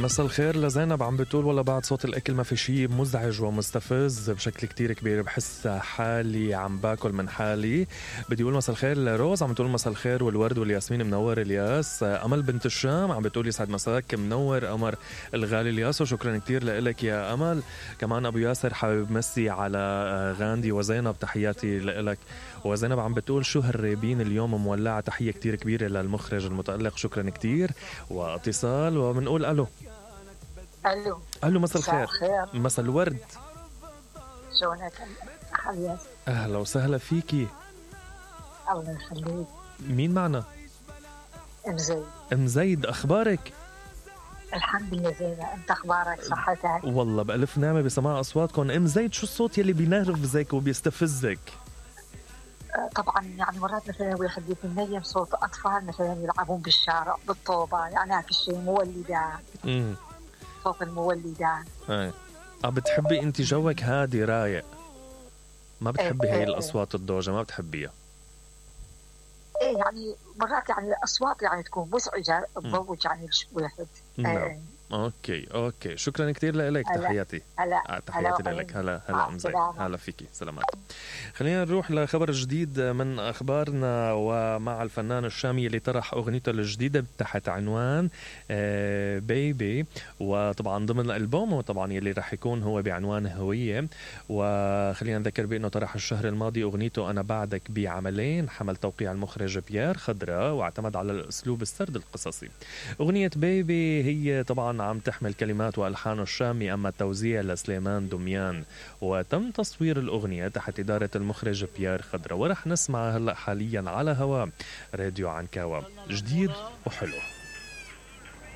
مساء الخير لزينب، عم بتقول والله بعد صوت الأكل ما في شي مزعج ومستفز بشكل كتير كبير، بحس حالي عم باكل من حالي. بدي أقول مساء الخير لروز، عم بتقول مساء الخير والورد والياسمين منور الياس. أمل بنت الشام عم بتقول يسعد مساك منور قمر الغالي الياس، وشكرا كتير لإلك يا أمل. كمان أبو ياسر حابب مسي على غاندي وزينب، تحياتي لإلك. وزينب عم بتقول شو هالريبين اليوم مولعة، تحية كتير كبيرة للمخرج المتألق، شكرا كتير. واتصال وبنقول ألو. ألو مساء الخير. مساء الورد. شلونك حبيبي؟ أهلا وسهلا فيكي. الله يخليك. مين معنا؟ ام زيد، أخبارك؟ الحمد لله زينة، أنت أخبارك صحتك؟ والله بألف نعمة بسماع أصواتكم. ام زيد، شو الصوت يلي بينرفزك وبيستفزك؟ طبعا يعني مرات مثلا واحد يتنيم صوت أطفال مثلا يلعبون بالشارع بالطوبة، يعني هيك الشيء مولدان. صوت المولدان. بتحبي انت جوك هادي رايق، ما بتحبي هي الأصوات الضوجة، ما بتحبيها؟ ايه يعني مرات يعني الأصوات يعني تكون مزعجة تضوج يعني الواحد. اوكي شكرا كتير لك. تحياتي. تحياتي لك. هلا ام زيد، هلا فيكي، سلامات. خلينا نروح لخبر جديد من اخبارنا، ومع الفنان الشامي اللي طرح اغنيته الجديده تحت عنوان بيبي، وطبعا ضمن الالبوم طبعا يلي راح يكون هو بعنوان هويه. وخلينا نذكر بانه طرح الشهر الماضي اغنيته انا بعدك بعملين، حمل توقيع المخرج بيير خضرة، واعتمد على الاسلوب السرد القصصي. اغنيه بيبي هي طبعا عم تحمل كلمات والحان الشامي، اما التوزيع لسليمان دميان، وتم تصوير الاغنيه تحت اداره المخرج بيير خضرة. ورح نسمع هلا حاليا على هوا راديو عنكاوة، جديد وحلو.